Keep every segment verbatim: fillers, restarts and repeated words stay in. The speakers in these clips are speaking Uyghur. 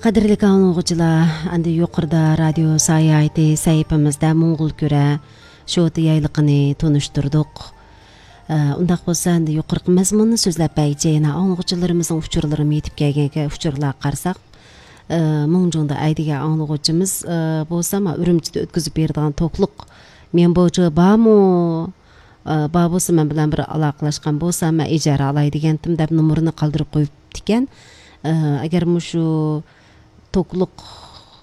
قەدىرلىك ئاڭلىغۇچىلار، ئەندى يۇقىرىدا رادىيو ساياھىتى سەھىپىمىزدە موڭغۇلكۈرە شوتا يايلىقىنى تونۇشتۇردۇق. ئە، ئۇنداق بولسا، ئەندى يۇقىرىقى مەزمۇننى سۆزلەپ بەرگۈچە يەنە ئاڭلىغۇچىلىرىمىزنىڭ ئۇچۇرلىرىمۇ يېتىپ كەلگەنكەن، ئۇچۇرلارغا قارىساق، ئە، مىڭجۇڭدا ئەيدىگەن ئاڭلىغۇچىمىز، ئە، بولسا، ما ئۈرۈمچىدە ئۆتكۈزۈپ بېرىدىغان توكلۇق ميەنبوچى بارمۇ؟ ئە، بار بولسا، مەن بىلەن بىر ئالاقىلەشكەن بولسا، مەن ئىجارە ئالاي دېگەنتىم دەپ نومۇرىنى قالدۇرۇپ قويۇپتىكەن. ئە، ئەگەر مۇشۇ توكلۇق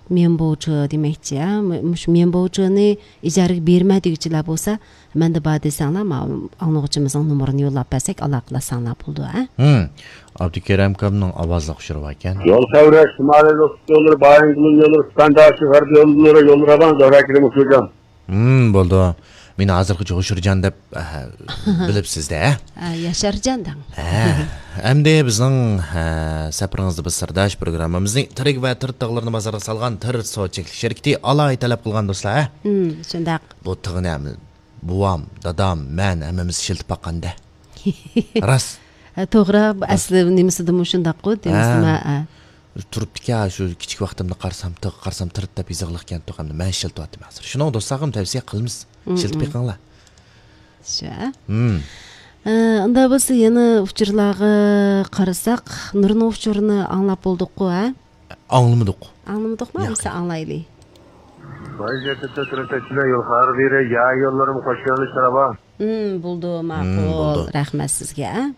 ميەنبوچى دېمەكچى، ھە؟ مۇ-، مۇشۇ ميەنبوچىنى ئىجارىگە بېرىمەن دېگۈچىلەر بولسا، مەندە بار دېسەڭلار، ما-، ئاڭلىغۇچىمىزنىڭ نومۇرىنى يوللاپ بەرسەك، ئالاقىلەشسەڭلار بولىدۇ، ھە؟ ھىم. ئابدۇكېرەم ئاكامنىڭ ئاۋازلىق ئۇچۇرى باركەن. يول سەۋرەش، شىمالىي لوسۇت يوللىرى، بايىنگلۇن يوللىرى، سىپەنداشى غەربىي يوللىرى، يوللىرى راۋان، زۆھرە كېرىم ئۇچۇرجان. ھىم، بولدى. مېنى ھازىرغىچە ھوشۇرجان دەپ، ئەھ، بىلىپسىز-دە، ھە؟ ھە، ياشارجان دەڭ. ھە. ئەمدى بىزنىڭ، ھە، سەپىرىڭىزدە بىز سىرداش پروگراممىمىزنى تىرىك ۋە تىرت تاغلىرىنى بازارغا سالغان تىرت سودا چەكلىك شىركىتى ئالاھىدە تەلەپ قىلغان دوستلار، ھە؟ ھىم، شۇنداق. بۇ تىغنى ھەم بوۋام، دادام، مەن ھەممىمىز ئىشلىتىپ باققان-دە. راست. ھە، توغرا، بۇ ئەسلى نېمىسىدىمۇ شۇنداققۇ، دېمىسىمۇ، ھە. ھە. تۇرۇپتىكەن، شۇ كىچىك ۋاقتىمدا قارىسام تىغ، قارىسام تىرىت دەپ يېزىقلىقكەن تۇغ، ئەمدى مەن ئىشلىتىۋاتىمەن ھازىر. شۇنىڭ دوستلارغىمۇ تەۋسىيە قىلىمىز. مم، ئىشلىتىپ مم. بېقىڭلار. شۇ. مم. ئە، ئۇنداق بولسا يەنە ئۇچۇرلارغا قارىساق، نۇرنىڭ ئۇچۇرىنى ئاڭلاپ بولدۇققۇ، ھە؟ ئاڭلىمىدۇق. ئاڭلىمىدۇقمۇ؟ ياق. بولمىسا ئاڭلايلى. ۋاي، جەددىتتە تۇرۇپ ئۆتىمەن، يول خارابىرى، يا يوللىرىم خوش يۆنىلىش تاراۋا. مم، بولدى، مم، ماقۇل. بولدى. رەھمەت سىزگە.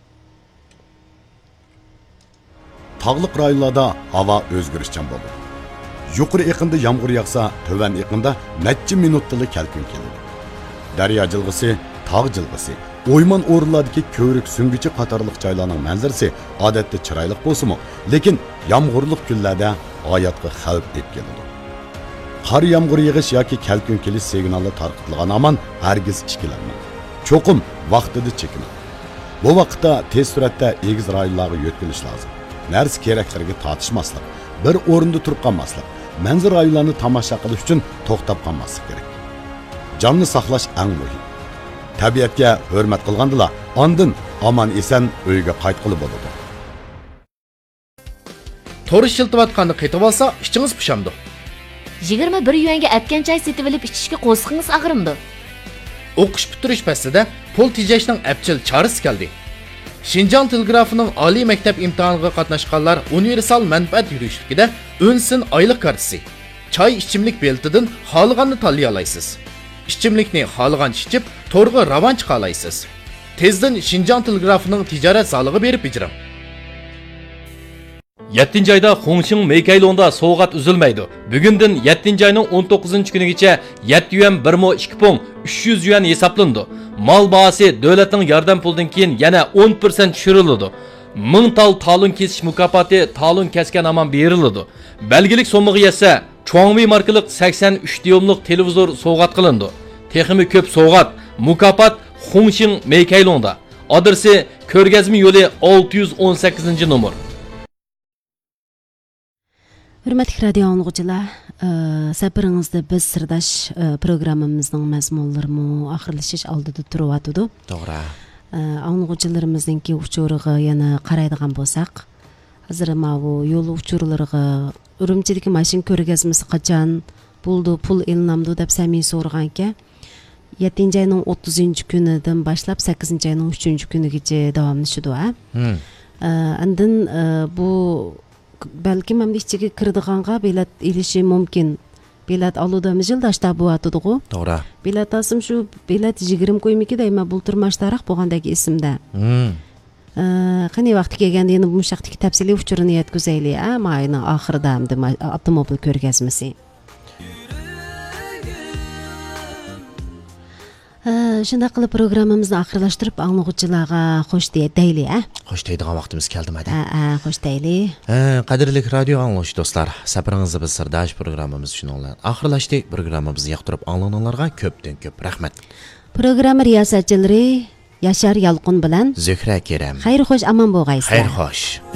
تاغلىق رايونلاردا ھاۋا ئۆزگىرىشچان بولىدۇ. يۇقىرى ئېقىندا يامغۇر ياغسا، تۆۋەن ئېقىندا نەچچە مىنۇتتىلا كەلكۈن كېلىدۇ. دەريا جىلغىسى، تاغ جىلغىسى، ئويمان ئورۇنلاردىكى كۆۋرۈك سۈڭگۈچى قاتارلىق جايلارنىڭ مەنزىرىسى ئادەتتە چىرايلىق بولسىمۇ، لېكىن يامغۇرلۇق كۈنلەردە ھاياتقا خەۋپ ئېلىپ كېلىدۇ. قار يامغۇر يېغىش ياكى كەلكۈن كېلىش سىگنالى تارقىتىلغان ھامان ھەرگىز ئىككىلەنمەڭ. چوقۇم ۋاقتىدا چېكىنىڭ. بۇ ۋاقىتتا تېز سۈرئەتتە ئېگىز رايونلارغا يۆتكىلىش لازىم. نەرسە كېرەكلىرىگە تارتىشماسلىق، بىر ئورۇندا تۇرۇپ قالماسلىق، مەنزىرە رايونلارنى تاماشا قىلىش ئۈچۈن توختاپ قالماسلىق كېرەك. جاننى ساقلاش ئەڭ مۇھىم. تەبىئەتكە ھۆرمەت قىلغاندىلا، ئاندىن ئامان-ئېسەن ئۆيگە قايتقىلى بولىدۇ. تور ئىشلىتىۋاتقاندا قېتىۋالسا، ئىچىڭىز پۇشامدۇ؟ يىگىرمە بىر يۈەنگە ئەتكەن چاي سېتىۋېلىپ ئىچىشكە قورسىقىڭىز ئاغرىمدۇ؟ ئوقۇش پۈتتۈرۈش پەسلىدە پۇل تېجەشنىڭ ئەپچىل چارىسى كەلدى. شىنجاڭ تېلېگرافىنىڭ ئالىي مەكتەپ ئىمتىھانىغا قاتناشقانلار ئۇنىۋېرسال مەنپەئەت يۈرۈشلۈكىدە ئۈن سىن ئايلىق كارتىسى، چاي ئىچىملىك بېلىتىدىن خالىغاننى تاللىيالايسىز. ئىچىملىكنى خالىغانچە ئىچىپ، تورغا راۋان چىقالايسىز. تېزدىن شىنجاڭ تېلېگرافىنىڭ تىجارەت زالىغا بېرىپ بېجىرىڭ. يەتتىنچى ئايدا خۇڭشىڭ مېيكەيلۇڭدا سوۋغات ئۈزۈلمەيدۇ. بۈگۈندىن يەتتىنچى ئاينىڭ ئون توققۇزىنچى كۈنىگىچە يەتتە يۈەن بىر مو ئىككى پۇڭ ئۈچ يۈز يۈەن ھېسابلىنىدۇ. مال باھاسى دۆلەتنىڭ ياردەم پۇلىدىن كېيىن يەنە ئون پىرسەنت چۈشۈرۈلىدۇ. مىڭ تال تالون كېسىش مۇكاپاتى تالون كەسكەن ھامان بېرىلىدۇ. بەلگىلىك سوممىغا يەتسە، چۇاڭۋېي ماركىلىق سەكسەن ئۈچ دىيۇملۇق تېلېۋىزور سوۋغات قىلىنىدۇ. تېخىمۇ كۆپ سوۋغات، مۇكاپات خۇڭشىڭ مېيكەيلۇڭدا. ئادرېسى: كۆرگەزمە يولى، ئالتە يۈز ئون سەككىزىنچى نومۇر. ھۆرمەتلىك رادىيو ئاڭلىغۇچىلار، ئى، سەپىرىڭىزدە بىز سىرداش، ئى، پروگراممىمىزنىڭ مەزمۇنلىرىمۇ ئاخىرلىشىش ئالدىدا تۇرۇۋاتىدۇ. توغرا. ئى، ئاڭلىغۇچىلىرىمىزنىڭكى ئۇچۇرىغا يەنە قارايدىغان بولساق، ھازىر ماۋۇ يول ئۇچۇرلىرىغا، ئۈرۈمچىدىكى ماشىنا كۆرگەزمىسى قاچان بولىدۇ، پۇل ئېلىنامدۇ دەپ سەمىي سورىغانىكەن. يەتتىنچى ئاينىڭ ئوتتۇزىنچى كۈنىدىن باشلاپ سەككىزىنچى ئاينىڭ ئۈچىنچى كۈنىگىچە داۋاملىشىدۇ، ھە؟ ھىم. ئە، ئاندىن، ئە، بۇ بەلكىم ئەمدى ئىچىگە كىرىدىغانغا بېلەت ئېلىشى مۇمكىن. بېلەت ئالىدۇ، ھەممە يىلدا ئاشتا بولۇۋاتىدىغۇ. توغرا. بېلەت ئالسام شۇ بېلەت يىگىرمە كويمىكى دەيمەن، بۇلتۇرمۇ ئاشتاراق بولغاندەك ئېسىمدە. ھىم. ئە، قېنى ۋاقتى كەلگەندە يەنە مۇشۇ ھەقتىكى تەپسىلىي ئۇچۇرنى يەتكۈزەيلى، ھە؟ ماينىڭ ئاخىرىدا ئەمدى ما-، ئاپتوموبىل كۆرگەزمىسى. ھە، شۇنداق قىلىپ پروگراممىمىزنى ئاخىرلاشتۇرۇپ، ئاڭلىغۇچىلارغا خوش دېيە-، دەيلى، ھە؟ خوش دەيدىغان ۋاقتىمىز كەلدىمۇ، ھەدە؟ ھە، ھە، خوش دەيلى. ھە، قەدىرلىك رادىيو ئاڭلىغۇچى دوستلار، سەپىرىڭىزدە بىز سىرداش پروگراممىمىز شۇنىڭ بىلەن ئاخىرلاشتى. پروگراممىمىزنى ياقتۇرۇپ ئاڭلىغىنىڭلارغا كۆپتىن كۆپ رەھمەت. پروگرامما رىياسەتچىلىرى ياشار يالقۇن بىلەن زۆھرە كېرەم. خەير خوش، ئامان بولغايسىلەر. خەير خوش.